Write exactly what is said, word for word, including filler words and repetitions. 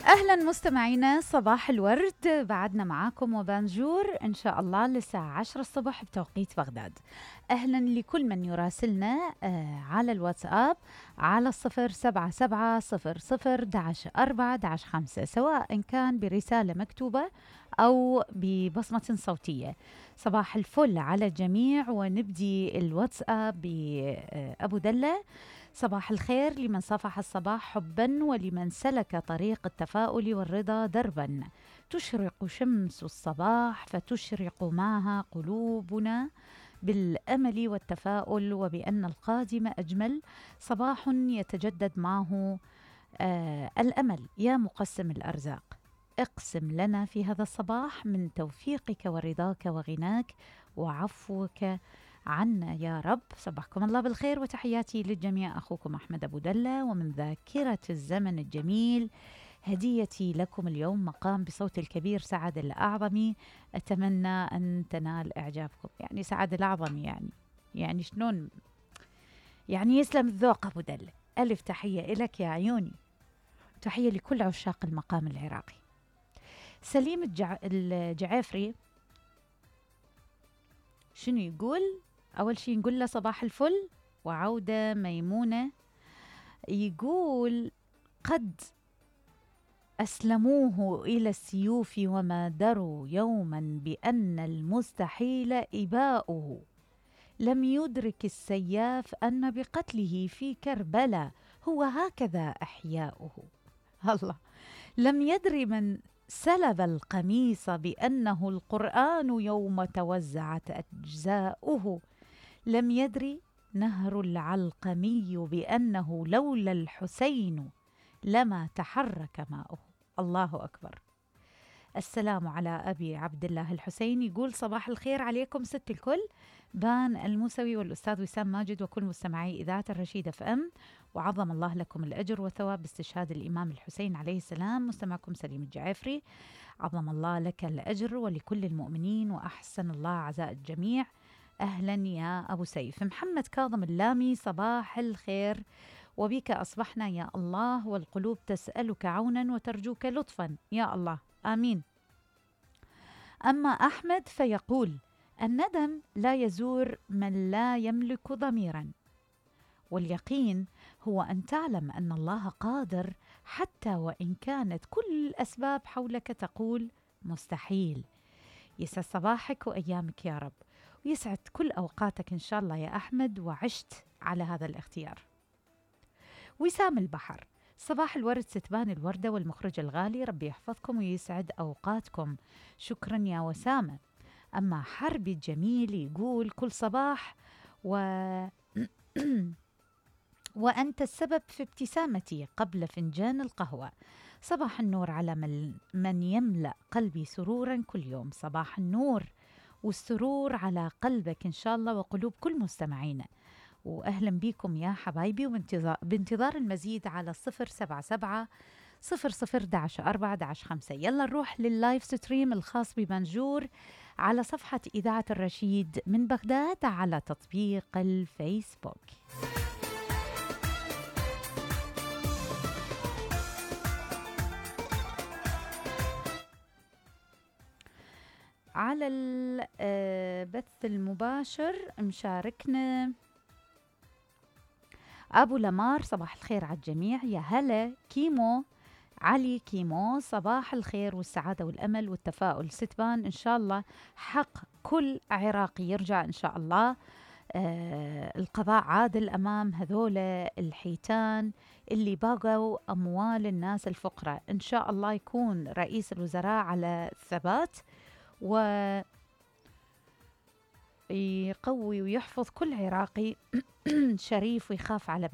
أهلا مستمعينا، صباح الورد. بعدنا معاكم وبانجور إن شاء الله للساعة عشرة الصبح بتوقيت بغداد. أهلا لكل من يراسلنا آه على الواتساب على الصفر سبعة سبعة صفر صفر داش أربعة داش خمسة، سواء كان برسالة مكتوبة أو ببصمة صوتية. صباح الفل على الجميع، ونبدي الواتساب بأبو دلة. صباح الخير لمن صفح الصباح حبا، ولمن سلك طريق التفاؤل والرضا دربا. تشرق شمس الصباح فتشرق معها قلوبنا بالأمل والتفاؤل، وبأن القادم أجمل. صباح يتجدد معه آه الأمل. يا مقسم الأرزاق، اقسم لنا في هذا الصباح من توفيقك ورضاك وغناك وعفوك عنا يا رب. صباحكم الله بالخير وتحياتي للجميع. أخوكم أحمد أبو دلة، ومن ذاكرة الزمن الجميل هديتي لكم اليوم مقام بصوت الكبير سعد الأعظمي. أتمنى أن تنال إعجابكم. يعني سعد الأعظمي يعني يعني شلون يعني يسلم الذوق أبو دلة. ألف تحية إلك يا عيوني، تحية لكل عشاق المقام العراقي. سليم الجع... الجعافري شنو يقول؟ أول شيء نقول له صباح الفل وعودة ميمونة. يقول قد أسلموه إلى السيوف وما دروا يوما بأن المستحيل إباؤه. لم يدرك السياف أن بقتله في كربلاء هو هكذا إحياؤه. الله. لم يدري من سلب القميص بأنه القرآن يوم توزعت أجزاؤه. لم يدري نهر العلقمي بأنه لولا الحسين لما تحرك ماؤه. الله أكبر. السلام على أبي عبد الله الحسين. يقول صباح الخير عليكم ست الكل، بان الموسوي والأستاذ وسام ماجد وكل مستمعي إذاعة الرشيد اف ام، وعظم الله لكم الأجر والثواب باستشهاد الإمام الحسين عليه السلام. مستمعكم سليم الجعافري. عظم الله لك الأجر ولكل المؤمنين، وأحسن الله عزاء الجميع. أهلا يا أبو سيف. محمد كاظم اللامي، صباح الخير، وبك أصبحنا يا الله، والقلوب تسألك عونا وترجوك لطفا يا الله، آمين. أما أحمد فيقول الندم لا يزور من لا يملك ضميرا، واليقين هو أن تعلم أن الله قادر حتى وإن كانت كل الأسباب حولك تقول مستحيل. يسعد صباحك وأيامك يا رب، ويسعد كل أوقاتك إن شاء الله يا أحمد، وعشت على هذا الاختيار. وسام البحر، صباح الورد ستبان الوردة والمخرج الغالي، ربي يحفظكم ويسعد أوقاتكم. شكرا يا وسامة. أما حربي الجميل يقول كل صباح و... وأنت السبب في ابتسامتي قبل فنجان القهوة. صباح النور على من, من يملأ قلبي سرورا كل يوم. صباح النور والسرور على قلبك إن شاء الله وقلوب كل مستمعينا، وأهلا بكم يا حبايبي، وبانتظار بانتظار المزيد على الصفر سبعة سبعة صفر صفر داش أربعة داش خمسة. يلا نروح لللايف ستريم الخاص ببنجور على صفحة إذاعة الرشيد من بغداد على تطبيق الفيسبوك. على البث المباشر مشاركنا أبو لمار، صباح الخير على الجميع. يا هلا كيمو علي كيمو، صباح الخير والسعادة والأمل والتفاؤل. ستبان إن شاء الله حق كل عراقي يرجع إن شاء الله. آه القضاء عادل أمام هذول الحيتان اللي باقوا أموال الناس الفقراء. إن شاء الله يكون رئيس الوزراء على الثبات ويقوي ويحفظ كل عراقي شريف ويخاف على